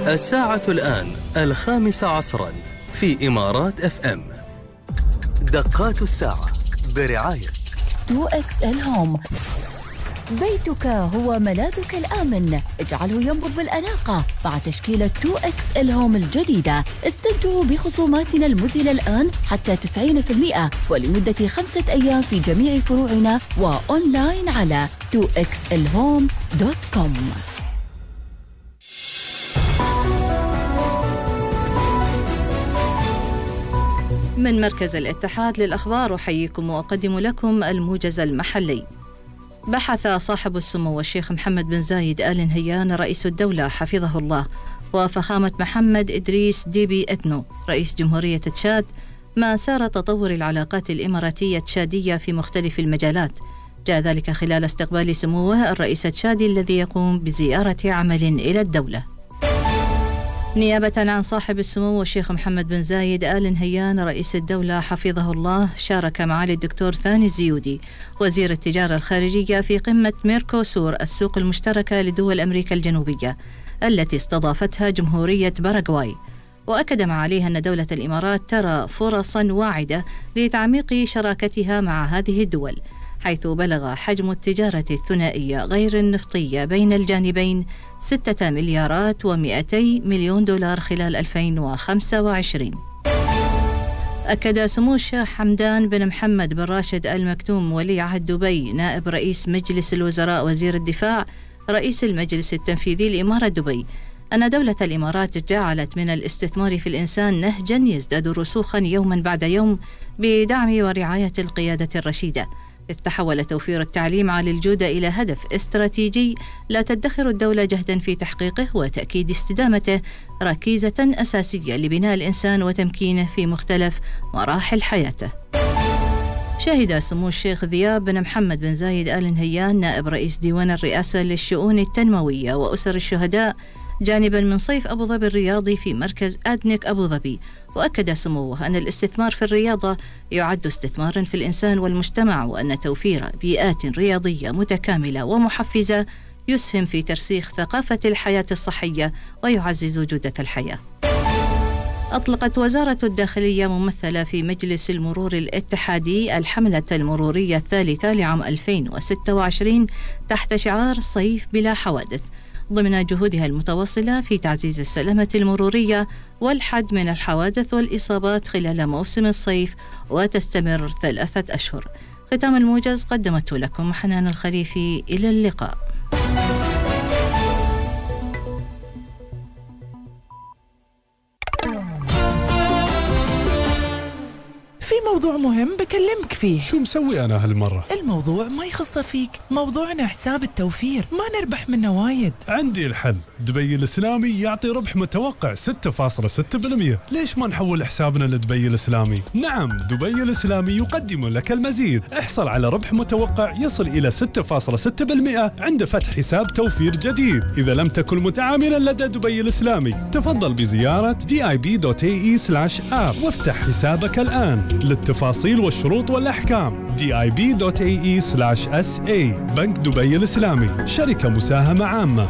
الساعة الآن 5 عصرا في إمارات FM. دقات الساعة برعاية 2XL هوم. بيتك هو ملاذك الآمن، اجعله ينبض بالأناقة مع تشكيلة 2XL هوم الجديدة. استمتعوا بخصوماتنا المذهلة الآن حتى 90% ولمدة 5 أيام في جميع فروعنا وأونلاين على 2xlhome.com. من مركز الاتحاد للأخبار أحييكم وأقدم لكم الموجز المحلي. بحث صاحب السمو الشيخ محمد بن زايد آل نهيان رئيس الدولة حفظه الله وفخامة محمد إدريس ديبي إتنو رئيس جمهورية تشاد ما سار تطور العلاقات الإماراتية تشادية في مختلف المجالات. جاء ذلك خلال استقبال سموه الرئيس التشادي الذي يقوم بزيارة عمل إلى الدولة. نيابة عن صاحب السمو الشيخ محمد بن زايد آل نهيان رئيس الدولة حفظه الله، شارك معالي الدكتور ثاني الزيودي وزير التجارة الخارجية في قمة ميركوسور السوق المشتركة لدول أمريكا الجنوبية التي استضافتها جمهورية باراغواي. وأكد معاليها أن دولة الإمارات ترى فرصا واعدة لتعميق شراكتها مع هذه الدول، حيث بلغ حجم التجارة الثنائية غير النفطية بين الجانبين 6 مليارات و200 مليون دولار خلال 2025. أكد سمو الشيخ حمدان بن محمد بن راشد آل مكتوم ولي عهد دبي نائب رئيس مجلس الوزراء وزير الدفاع رئيس المجلس التنفيذي لإمارة دبي أن دولة الإمارات جعلت من الاستثمار في الإنسان نهجا يزداد رسوخا يوما بعد يوم بدعم ورعاية القيادة الرشيدة، إذ تحول توفير التعليم عالي الجودة إلى هدف استراتيجي لا تدخر الدولة جهدا في تحقيقه وتأكيد استدامته ركيزة أساسية لبناء الإنسان وتمكينه في مختلف مراحل حياته. شهد سمو الشيخ ذياب بن محمد بن زايد آل نهيان نائب رئيس ديوان الرئاسة للشؤون التنموية وأسر الشهداء جانبا من صيف أبو ظبي الرياضي في مركز أدنك أبو ظبي. وأكد سموه أن الاستثمار في الرياضة يعد استثمارا في الإنسان والمجتمع، وأن توفير بيئات رياضية متكاملة ومحفزة يسهم في ترسيخ ثقافة الحياة الصحية ويعزز جودة الحياة. أطلقت وزارة الداخلية ممثلة في مجلس المرور الاتحادي الحملة المرورية الثالثة لعام 2026 تحت شعار صيف بلا حوادث، ضمن جهودها المتواصلة في تعزيز السلامة المرورية والحد من الحوادث والإصابات خلال موسم الصيف، وتستمر 3 أشهر. ختام الموجز قدمته لكم حنان الخليفي. إلى اللقاء. في موضوع مهم بكلمك فيه. شو مسوي أنا هالمرة؟ الموضوع ما يخص فيك، موضوعنا حساب التوفير، ما نربح منه وايد. عندي الحل، دبي الإسلامي يعطي ربح متوقع 6.6%. ليش ما نحول حسابنا لدبي الإسلامي؟ نعم، دبي الإسلامي يقدم لك المزيد. احصل على ربح متوقع يصل إلى 6.6% عند فتح حساب توفير جديد. إذا لم تكن متعاملا لدى دبي الإسلامي تفضل بزيارة dib.ae/app وافتح حسابك الآن. للتفاصيل والشروط والأحكام dib.ae/sa. بنك دبي الإسلامي، شركة مساهمة عامة.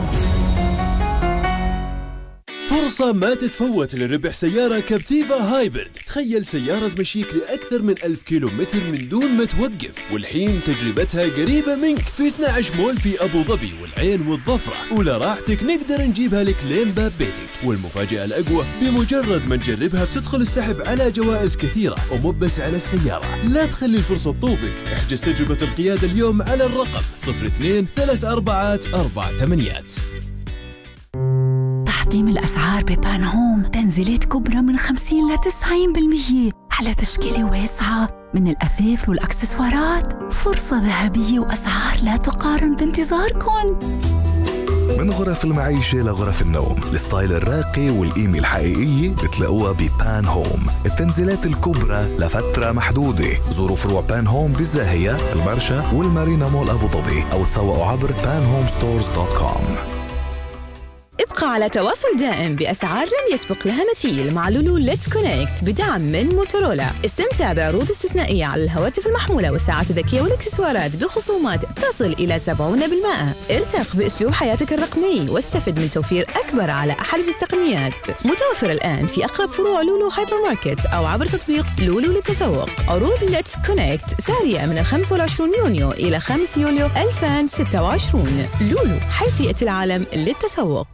فرصة ما تتفوت لربح سيارة كابتيفا هايبرد. تخيل سيارة تمشيك لأكثر من 1000 كيلومتر من دون ما توقف، والحين تجربتها قريبة منك في 12 مول في أبو ظبي والعين والظفرة، ولراحتك نقدر نجيبها لك لين باب بيتك. والمفاجأة الأقوى، بمجرد ما نجربها بتدخل السحب على جوائز كثيرة، ومو بس على السيارة. لا تخلي الفرصة تطوفك، احجز تجربة القيادة اليوم على الرقم 02-3448. تحطيم الأسعار ببان هوم، تنزيلات كبرى من 50 ل 90% على تشكيلة واسعة من الأثاث والأكسسوارات. فرصة ذهبية وأسعار لا تقارن بانتظاركم. من غرف المعيشة لغرف النوم، الستايل الراقي والقيمة الحقيقية بتلاقوها ببان هوم. التنزيلات الكبرى لفترة محدودة. زوروا فروع بان هوم بالزاهية، المرشا والمارينا مول أبو ظبي، أو تسوقوا عبر panhomestores.com. ابقى على تواصل دائم بأسعار لم يسبق لها مثيل مع لولو ليتس كونكت بدعم من موتورولا. استمتع بعروض استثنائية على الهواتف المحمولة والساعات الذكية والإكسسوارات بخصومات تصل إلى 70%. ارتق بأسلوب حياتك الرقمي واستفد من توفير أكبر على أحدث التقنيات. متوفر الآن في أقرب فروع لولو هايبر ماركت أو عبر تطبيق لولو للتسوق. عروض ليتس كونكت سارية من 25 يونيو إلى 5 يوليو 2026. لولو، حيث يأتي العالم للتسوق.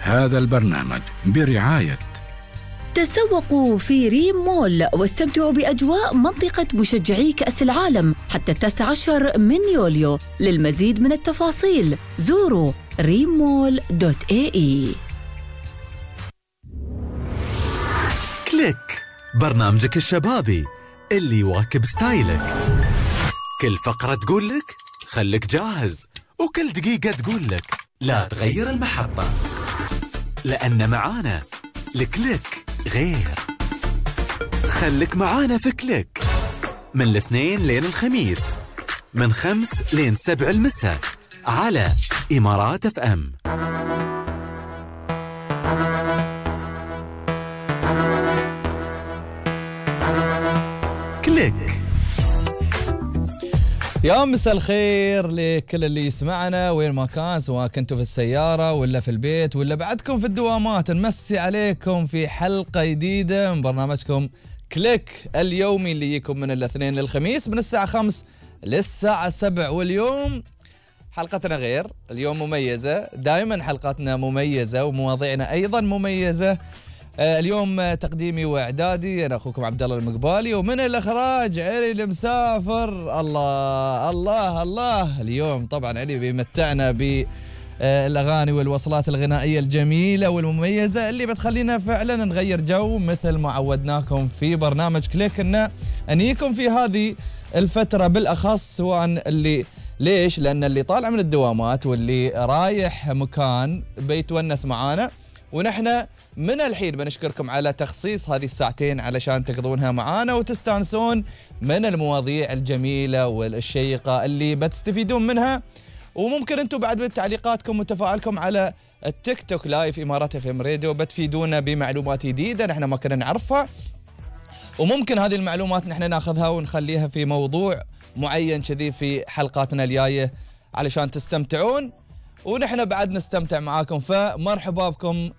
هذا البرنامج برعاية تسوقوا في ريم مول واستمتعوا بأجواء منطقة مشجعي كأس العالم حتى 19 من يوليو. للمزيد من التفاصيل زوروا rimmall.ae. كليك، برنامجك الشبابي اللي يواكب ستايلك. كل فقرة تقول لك خليك جاهز، وكل دقيقة تقول لك لا تغير المحطة، لأن معانا الكليك غير. خليك معانا في كليك من الاثنين لين الخميس من 5 لين 7 المساء على إمارات اف ام. كليك. يا مساء الخير لكل اللي يسمعنا وين ما كان، سواء كنتوا في السيارة ولا في البيت ولا بعدكم في الدوامات. نمسي عليكم في حلقة جديدة من برنامجكم كليك اليومي اللي يجيكم من الاثنين للخميس من الساعة 5 للساعة 7. واليوم حلقتنا غير، اليوم مميزة. دائما حلقاتنا مميزة ومواضيعنا أيضا مميزة. اليوم تقديمي واعدادي انا اخوكم عبد الله المقبالي، ومن الاخراج علي المسافر. الله الله الله. اليوم طبعا علي بيمتعنا بالاغاني والوصلات الغنائيه الجميله والمميزه اللي بتخلينا فعلا نغير جو مثل ما عودناكم في برنامج كليك ان نجيكم في هذه الفتره بالاخص، سواء اللي ليش؟ لان اللي طالع من الدوامات واللي رايح مكان بيتونس معانا، ونحن من الحين بنشكركم على تخصيص هذه الساعتين علشان تقضونها معانا وتستانسون من المواضيع الجميلة والشيقة اللي بتستفيدون منها. وممكن انتم بعد بتعليقاتكم وتفاعلكم على التيك توك لايف إمارات اف ام راديو بتفيدونا بمعلومات جديدة نحن ما كنا نعرفها، وممكن هذه المعلومات نحن ناخذها ونخليها في موضوع معين كذي في حلقاتنا الجاية علشان تستمتعون ونحن بعد نستمتع معاكم. فمرحبا بكم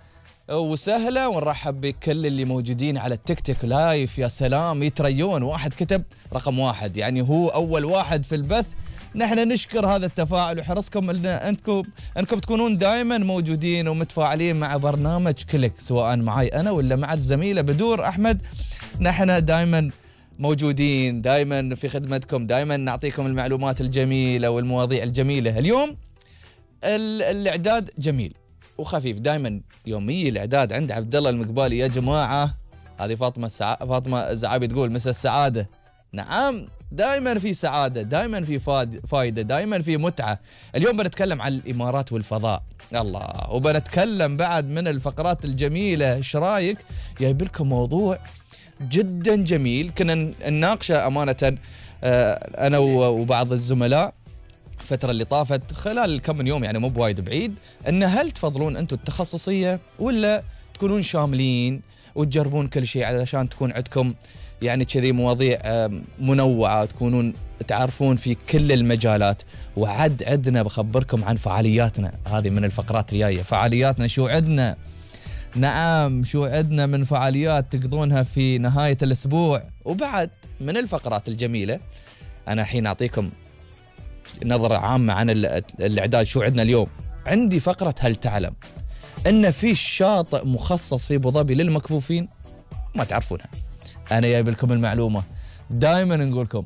وسهلا، ونرحب بكل اللي موجودين على التيك توك لايف. يا سلام، يتريون، واحد كتب رقم 1 يعني هو أول واحد في البث. نحن نشكر هذا التفاعل وحرصكم أنكم تكونون دائما موجودين ومتفاعلين مع برنامج كليك، سواء معي أنا ولا مع الزميلة بدور أحمد. نحن دائما موجودين، دائما في خدمتكم، دائما نعطيكم المعلومات الجميلة والمواضيع الجميلة. اليوم الإعداد جميل وخفيف، دائما يومي الإعداد عند عبد الله المقبالي يا جماعة. هذه فاطمة الزعابي تقول مساء السعادة. نعم، دائما في سعادة، دائما في فايدة، دائما في متعة. اليوم بنتكلم عن الإمارات والفضاء، الله، وبنتكلم بعد من الفقرات الجميلة. ايش رايك؟ جايب لكم موضوع جدا جميل كنا نناقشه أمانة أنا وبعض الزملاء الفترة اللي طافت خلال كم من يوم، يعني مو بوايد بعيد، ان هل تفضلون انتم التخصصية ولا تكونون شاملين وتجربون كل شيء علشان تكون عندكم يعني كذي مواضيع منوعة، تكونون تعرفون في كل المجالات. وعد عدنا بخبركم عن فعالياتنا، هذه من الفقرات الجاية. فعالياتنا شو عدنا؟ نعم، شو عدنا من فعاليات تقضونها في نهاية الأسبوع. وبعد من الفقرات الجميلة أنا الحين أعطيكم نظرة عامة عن الإعداد. شو عندنا اليوم؟ عندي فقرة هل تعلم أن في شاطئ مخصص في أبو ظبي للمكفوفين؟ ما تعرفونها، أنا جايب لكم المعلومة. دائما نقولكم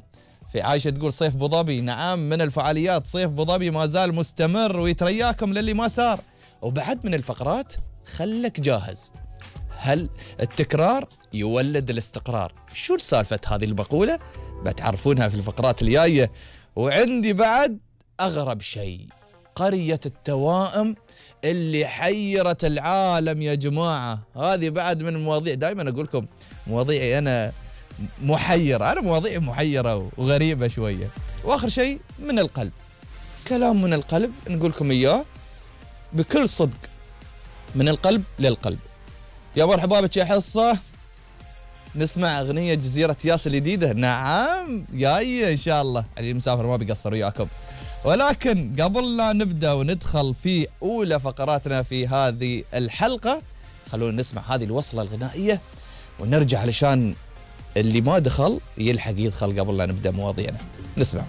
في عايشة تقول صيف أبو ظبي. نعم، من الفعاليات صيف أبو ظبي ما زال مستمر ويترياكم للي ما صار. وبعد من الفقرات خلك جاهز، هل التكرار يولد الاستقرار؟ شو السالفة هذه المقولة؟ بتعرفونها في الفقرات الجاية. وعندي بعد أغرب شيء، قرية التوائم اللي حيرت العالم يا جماعة. هذه بعد من المواضيع. دائما أقول لكم مواضيعي أنا محيرة، أنا مواضيعي محيرة وغريبة شوية. وآخر شيء من القلب، كلام من القلب نقول لكم إياه بكل صدق، من القلب للقلب. يا مرحبا بك يا حصة، نسمع أغنية جزيرة ياس الجديدة. نعم جاية إن شاء الله، اللي مسافر ما بيقصر وياكم. ولكن قبل لا نبدأ وندخل في أولى فقراتنا في هذه الحلقة، خلونا نسمع هذه الوصلة الغنائية ونرجع علشان اللي ما دخل يلحق يدخل قبل لا نبدأ مواضيعنا. نسمع.